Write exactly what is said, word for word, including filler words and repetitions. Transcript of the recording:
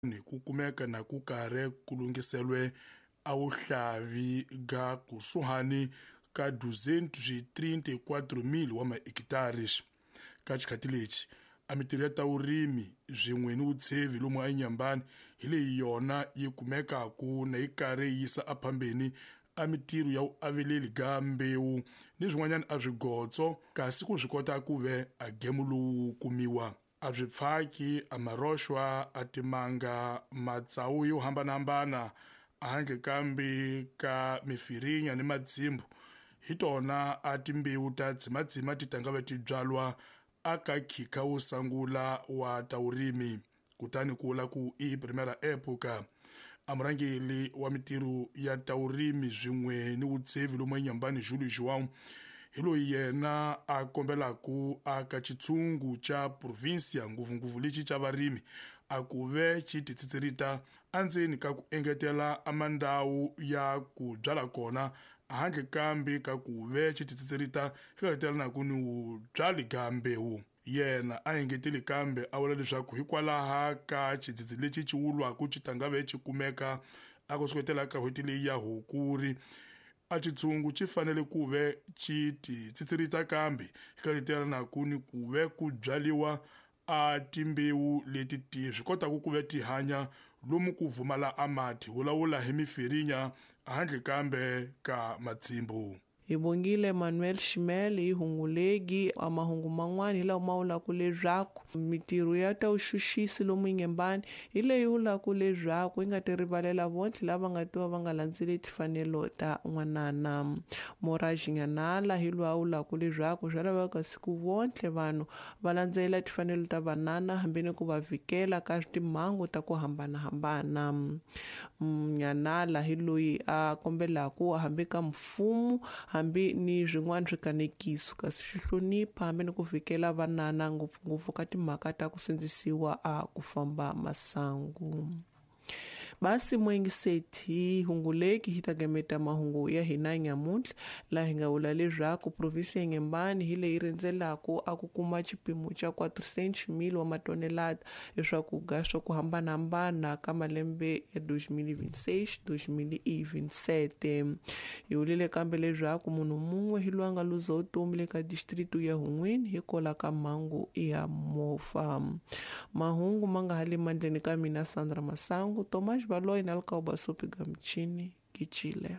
Ku kumeka na ku karhi ku lunghiselwe a wuhlavi ga kusuhani ka duzentos e trinta e quatro mil wa mahekitara. Ka xikhati lexi a mitirho ya ta vurimi swin'we ni vutshevi lomu eNyembani hi leyi yona yi kumekaku na yi karhi yi yisa ephambeni a mitirho ya vuaveleli ga mbewu ni swin'wanyana a swigotso kasi ku swi kota ku ve a gemu lowu kumiwa a swipfhaki a maroxwa a timanga matsawu yo hambanahambana handle kambe ka mifirinya ni matsimbu hi tona a timbewu ta tsimatsima ti tangave ti byalwa aka khikha wo sungula wa ta vurimi kutani ku vula ku i primera época. A murhangeri wa mitirho ya ta vurimi swin'we ni vutshevi lomu eNyembani Julio João hi loyi yena a kombelaku aka xitshungu xa provincia ngopfungopfu lexi xa varimi a ku ve xi titsitsilita endzeni ka ku engetela a mandhawu ya ku byala kona handle kambe ka ku ve xi titsitsilita xi engetela ku ni byali ga mbewu. Yena a engeteli kambe a vula leswaku hikwalaha ka xidzidzi lexi xi wulwaku xi tangave xi kumeka a ku suketela ka n'hweti leyi ya Hukuri a xitshungu xi fanele ku ve xi titsitsilita kambe xi na ku ni ku ve ku byaliwa a timbewu leti ti swi kotaka ku ve ti hanya lomu ku vumala a mati vulavula hi mifirinya handle kambe ka matsimbu. Hi bongile Manuel Shimel hi hungulegi a mahungu man'wana hi lawa ma vulaka leswaku mitirho ya ta vuxuxisi lomu Nyembani hi leyi vulaka leswaku yi nga ti rivalela vontlhe lava nga tiva va nga landzeli timfanelo ta n'wanana. Moraj Nyanala hi loyi a vulaka leswaku swa laveka siku vontlhe vanhu va landzelela timfanelo ta vanana hambi ni ku va vhikela ka timhangu ta ku hambanahambana. Nyanala hi loyi a kombelaku hambi ka mfumo hambi ni swin'wana swikanekiso kasi swi hlonipha hambi ni ku vhikela vanana ngopfungopfu ka timhaka ta ku sindzisiwa a ku famba masangu. Basi mwengiseti hunguleki hi ta gameta mahungu ya hina nyamuntlha laha hi nga vula leswaku provinsi ya Nyembani hi leyi rhendzelaku a ku kuma xipimo xa quatrocentos mil wa matonelada leswaku ga swa ku hambanahambana ka malembe ya dois mil e vinte e seis dois mil e vinte e sete. Hi vulile kambe leswaku munhu mun'we hi loyi a nga luza vutomi le ka distrito ya Hun'wini hikwalaho ka mhangu ya movha. Mahungu ma nga ha le mandleni ka mina Sandra Masangu, Tomás Baloyi na Lukauba Sopi Gamchini, Kichile.